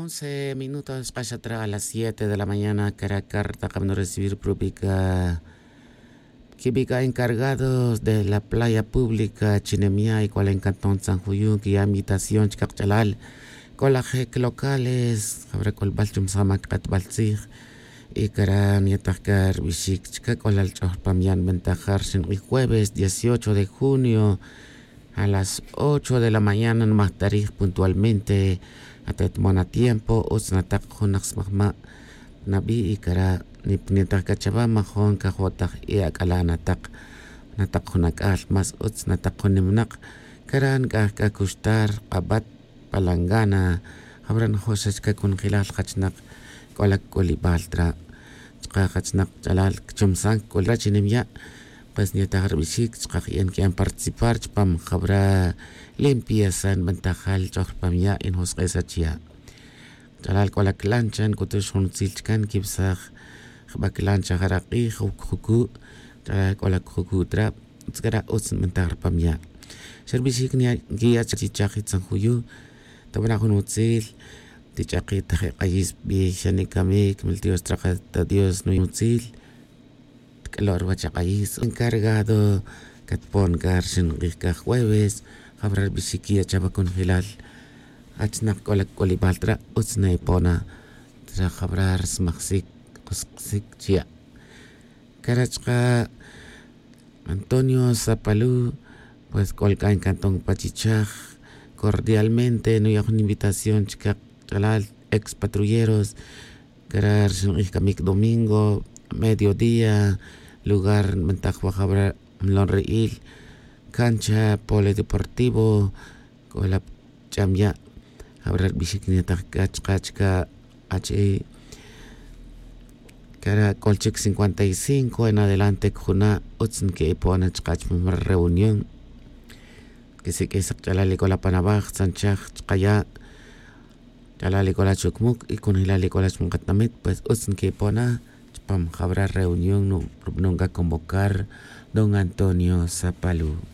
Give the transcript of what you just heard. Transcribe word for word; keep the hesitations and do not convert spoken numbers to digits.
Once minutos xk'axatra a las siete de la mañana kara carta kabno recibir prubica. Kibica encargados de la playa pública chinemya y cual encanton san juyu kiya invitación chikakch'alal. K'olajek locales jabra k'olbal chumsama kik'etbal tzij. Y kara niyataj ka rbixik chika k'olal ch'oj rpamya' nbentajar xink'ij jueves dieciocho de junio a las ocho de la mañana nmajtarij puntualmente. Atetmon atiempo utz nataq jun naq smajma' nabi' y kara' nipnitaj k'a chawa majon kajotaj e ak'ala' nataq. Nataq jun ak'al más utz nataq jun nimnaq. Kara' nk'aj k'a kuxtar q'abat palangana. Jabra' njoxach k'a kunjelal jachnaq k'ola k'olibal tra' chqa jachnaq ch'alal kchomsan k'olra' chi nimya'. Pues nyetaj rbixik chqa jyan kiyan participar chpam jabra' limpieza nbentajal ch'oj rpam ya' y njosk'esach ya'. Ch'alal k'ola klancha nk'utux jun utzil chkan kibsaj jba klancha jara' q'ij o kjuku'. Ch'alal k'ola kjuku' tra' tzk'ara' utz nbentaj rpam ya'. Xa rbixik nkiya' chak chichaj itzan juyu'. Tabana' jun utzil tich'aqi' taje' q'ayis b'ij xa nikamik mil dios traqat ta dios nuy utzil. Tk'alo' ruwach ak'ayis encargado katpon k'a rxin q'ij k'a jueves. Jabra' rbixik kiya' chawa kunjelal achnaq k'ola kk'olibal tra' utz na epona. Tra' jabra' rsmajsik qusqsik chiya'. Kara' chqa' antonio zapalu. Pues k'ol k'a nkanton pa chichaj cordialmente nuya' jun invitación chkaq ch'alal ex patrulleros. Kara' rxin q'ij kamik domingo mediodía lugar nbentaj wa jabra' mlon ri'il cancha polideportivo. K'ola ch'am ya' jabra' rbixik nyetaj k'a chqa' chka' achi'. Kara' k'ol chik cincuenta y cinco en adelante kjuna' utz nke'ipona chqa' chpam reunión. Kisik'ij saq ch'alal ik'ola panabaj tzanchaj chqa' ya' ch'alal ik'ola chukmuk y kunjelal ik'ola chmaqatamit pues utz nke'ipona chpam jabra' reunión rub'anon k'a convocar don antonio zapalu.